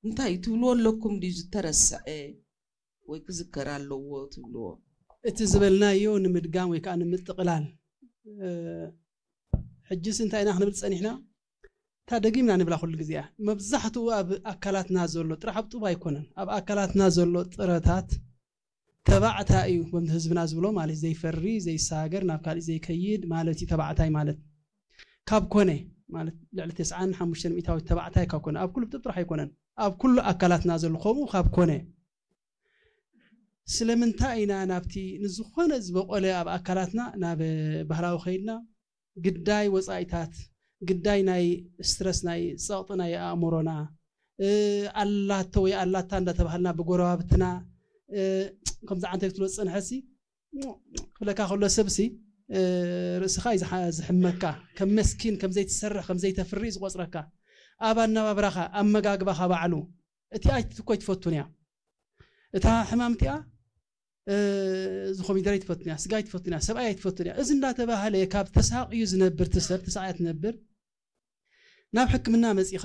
እንታይ ትብልዎ ኣለኩም ድዩ ዝተረስዐ ወይ ክዝከር ኣለዎ ትብልዎ? እቲ ዝበልናዮ ንምድጋም ወይ ከዓ ንምጥቕላል ሕጅስ እንታይ ኢና ክንብል ፀኒሕና? እታ ደጊምና ንብላ ኩሉ ግዜ እያ። መብዛሕትኡ ኣብ ኣካላትና ዘሎ ጥራሕ ኣብ ጡብ ኣይኮነን፣ ኣብ ኣካላትና ዘሎ ጥረታት ተባዕታይ እዩ። ከምቲ ህዝብና ዝብሎ ማለት ዘይፈሪ ዘይሰጋገር ናብ ካሊእ ዘይከይድ ማለት እዩ። ተባዕታይ ማለት ካብ ኮነ ማለት ልዕሊ ተስዓን ሓሙሽተን ሚእታዊት ተባዕታይ ካብ ኮነ ኣብ ኩሉ ጡብ ጥራሕ ኣይኮነን፣ ኣብ ኩሉ ኣካላትና ዘሎ ከምኡ ካብ ኮነ ስለምንታይ ኢና ናብቲ ንዝኾነ ዝበቆለ ኣብ ኣካላትና ናብ ባህላዊ ከይድና ግዳይ ወፃኢታት ግዳይ ናይ ስትረስ ናይ ፀቕጢ ናይ ኣእምሮና ኣላቶ ወይ ኣላታ እንዳተባሃልና ብጎረባብትና ከምዚ ዓንተ ክትብሎ ዝፀንሐሲ ክብለካ ከሎ ሰብሲ ርእስኻ እዩ ዝሕመካ ከም መስኪን ከም ዘይትሰርሕ ከም ዘይተፍሪ እዩ ዝቆፅረካ ኣብ ኣነባብራኻ ኣመጋግባኻ ባዕሉ እቲ ኣይትኮይ ትፈቱን እያ እታ ሕማም እቲኣ እዚ ኮሚደረ ኣይትፈቱን እያ ስጋ ኣይትፈቱን እያ ሰብኣይ ኣይትፈቱን እያ እዚ እንዳተባህለ ካብ ተሳቕዩ ዝነብር ትሰብ ተሳቕያ ትነብር ናብ ሕክምና መፂኻ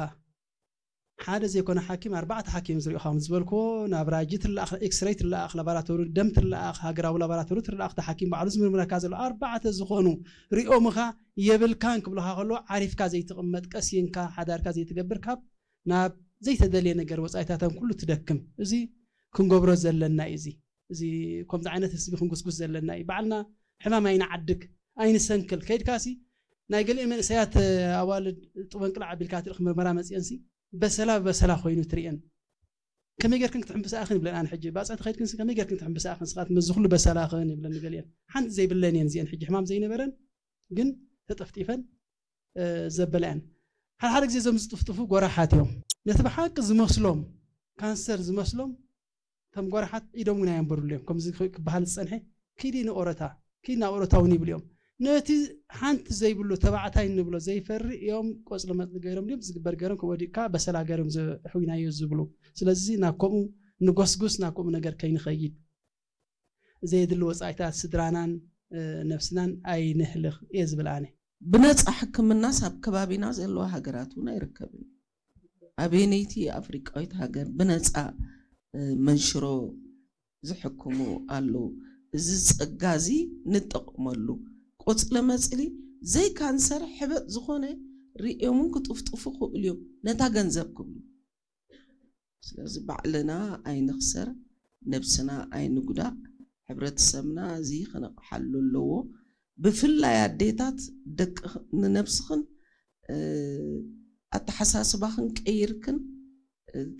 ሓደ ዘይኮነ ሓኪም ኣርባዕተ ሓኪም ዝሪኦኻ ከም ዝበልክዎ ናብ ራጂ ትለኣኽ ኤክስሬይ ትለኣኽ ላባራቶሪ ደም ትለኣኽ ሃገራዊ ላባራቶሪ ትለኣኽ እቲ ሓኪም ባዕሉ ዝምርምረካ ዘሎ ኣርባዕተ ዝኾኑ ሪኦምኻ የብልካን ክብልኻ ከሎ ዓሪፍካ ዘይትቕመጥ ቀሲንካ ሓዳርካ ዘይትገብር ካብ ናብ ዘይተደልየ ነገር ወፃኢታተን ኩሉ ትደክም እዚ ክንገብሮ ዘለና እዩ እዚ እዚ ከምዚ ዓይነት ህዝቢ ክንጉስጉስ ዘለና እዩ ባዕልና ሕማም ኣይንዓድግ ኣይንሰንክል ከይድካሲ ናይ ገሊኦ መንእሰያት ኣዋልድ ጥበንቅላዕ ኣቢልካ ትርኢ ምርመራ መፅአንሲ በሰላ ብበሰላ ኮይኑ ትርእየን ከመይ ጌርክን ክትሕምብሳ ኢኽን ይብለን ኣነ ሕጂ ባፅዕቲ ከይድክንሲ ከመይ ጌርክን ክትሕምብሳ ኢኽን ስኻት መዚ ኩሉ በሰላ ኢኽን ይብለን ገሊአን ሓንቲ ዘይብለን እየን እዚአን ሕጂ ሕማም ዘይነበረን ግን ተጠፍጢፈን ዘበላ እየን ሓደ ሓደ ግዜ እዞም ዝጥፍጥፉ ጎራሓት እዮም ነቲ ብሓቂ ዝመስሎም ካንሰር ዝመስሎም ከም ጎራሓት ኢዶም እውን ኣየንበሩሉ እዮም ከምዚ ክበሃል ዝፀንሐ ኪዲ ንኦረታ ኪድ ናብ ኦረታ እውን ይብሉ እዮም ነቲ ሓንቲ ዘይብሉ ተባዕታይ ንብሎ ዘይፈሪ እዮም ቆፅሊ መፅሊ ገይሮም ድዮም ዝግበር ገይሮም ወዲቅካ በሰላ ገይሮም ዘሕዊናዮ ዝብሉ ስለዚ ናብ ከምኡ ንጎስጉስ ናብ ከምኡ ነገር ከይንኸይድ ዘየድሊ ወፃኢታት ስድራናን ነብስናን ኣይንህልኽ እየ ዝብል ኣነ ብነፃ ሕክምናስ ኣብ ከባቢና ዘለዋ ሃገራት እውን ኣይርከብን ኣበየነይቲ ኣፍሪቃዊት ሃገር ብነፃ መንሽሮ ዝሕክሙ ኣለዉ። እዚ ጸጋ እዚ ንጠቐመሉ። ቆጽሊ መጽሊ ዘይካንሰር ሕበጥ ዝኾነ ርእዮምን ክጥፍጥፉ ክእሉ እዮም ነታ ገንዘብ ክብሉ። ስለዚ ባዕልና ኣይንኽሰር፣ ነብስና ኣይንጉዳእ፣ ሕብረተሰብና እዚ ክነቕሓሉ ኣለዎ። ብፍላይ ኣዴታት ደቂ ንነብስኽን ኣተሓሳስባኽን ቀይርክን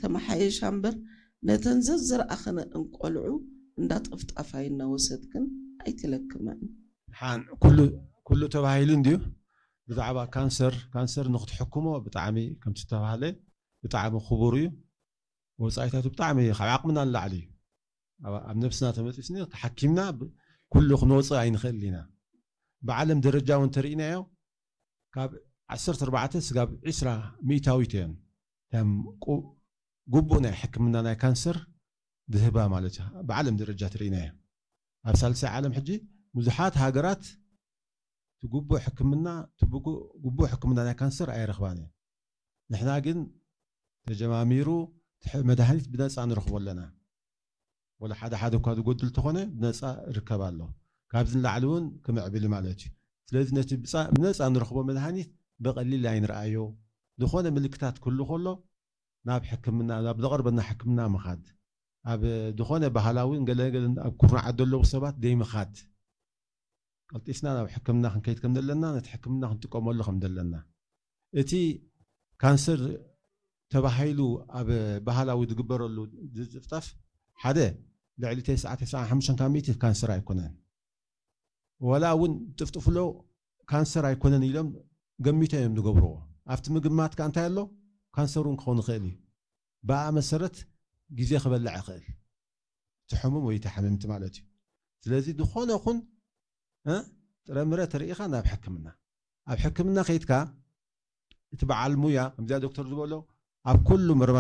ተመሓየሻ እምበር ነተን ዘዝረኣኽንእን ቆልዑ እንዳጠፍጣፋይ እናወሰድክን ኣይትለክመን። ሓን ኩሉ ኩሉ ተባሂሉ እንድዩ ብዛዕባ ካንሰር ካንሰር ንክትሕክሞ ብጣዕሚ ከምቲ ዝተባህለ ብጣዕሚ ክቡር እዩ ወፃኢታቱ ብጣዕሚ ካብ ዓቕምና ንላዕሊ እዩ ኣብ ነብስና ተመፂስኒ ተሓኪምና ኩሉ ክንወፅእ ኣይንኽእል ኢና ብዓለም ደረጃ እውን ተርኢናዮ ካብ ዓሰርተ ኣርባዕተ ስጋብ ዒስራ ሚእታዊት እየን እተን ግቡእ ናይ ሕክምና ናይ ካንሰር ዝህባ ማለት እዩ ብዓለም ደረጃ ትርኢና እያ ኣብ ሳልሳይ ዓለም ሕጂ ብዙሓት ሃገራት ግቡእ ሕክምና ግቡእ ሕክምና ናይ ካንሰር ኣይረኽባን እየን ንሕና ግን ተጀማሚሩ መድሃኒት ብነፃ ንረኽቦ ኣለና ወላ ሓደ ሓደ እኳ ዝጎድል ተኾነ ብነፃ ርከብ ኣሎ። ካብዚ ንላዕሊ እውን ክምዕብል ማለት እዩ። ስለዚ ነቲ ብነፃ ንረኽቦ መድሃኒት ብቐሊል ኣይንርኣዮ። ዝኾነ ምልክታት ክህሉ ከሎ ናብ ሕክምና ናብ ዘቐርበና ሕክምና ምኻድ፣ ኣብ ዝኾነ ባህላዊ ገለ ገለ ኣብ ኩርናዓት ዘለዉ ሰባት ዘይምኻድ፣ ቀልጢፍና ናብ ሕክምና ክንከይድ ከም ዘለና ነቲ ሕክምና ክንጥቀመሉ ከም ዘለና እቲ ካንሰር ተባሂሉ ኣብ ባህላዊ ዝግበረሉ ዝጥፍጠፍ ሓደ ልዕሊ ተስዓ ተስዓን ሓሙሽተን ካብ ሚእቲ ካንሰር ኣይኮነን። ዋላ እውን ዝጥፍጥፍሎ ካንሰር ኣይኮነን ኢሎም ገሚቶም እዮም ዝገብርዎ። ኣብቲ ምግማት ከዓ እንታይ ኣሎ? ካንሰር እውን ክኸውን ይኽእል እዩ። ብኣ መሰረት ግዜ ክበልዕ ይኽእል። እቲ ሕሙም ወይ እቲ ሓመምቲ ማለት እዩ። ስለዚ ዝኾነ ኹን ጥረምረ ተርኢኻ ናብ ሕክምና ኣብ ሕክምና ከይድካ እቲ በዓል ሙያ ከምዚኣ ዶክተር ዝበሎ ኣብ ኩሉ ምርመራ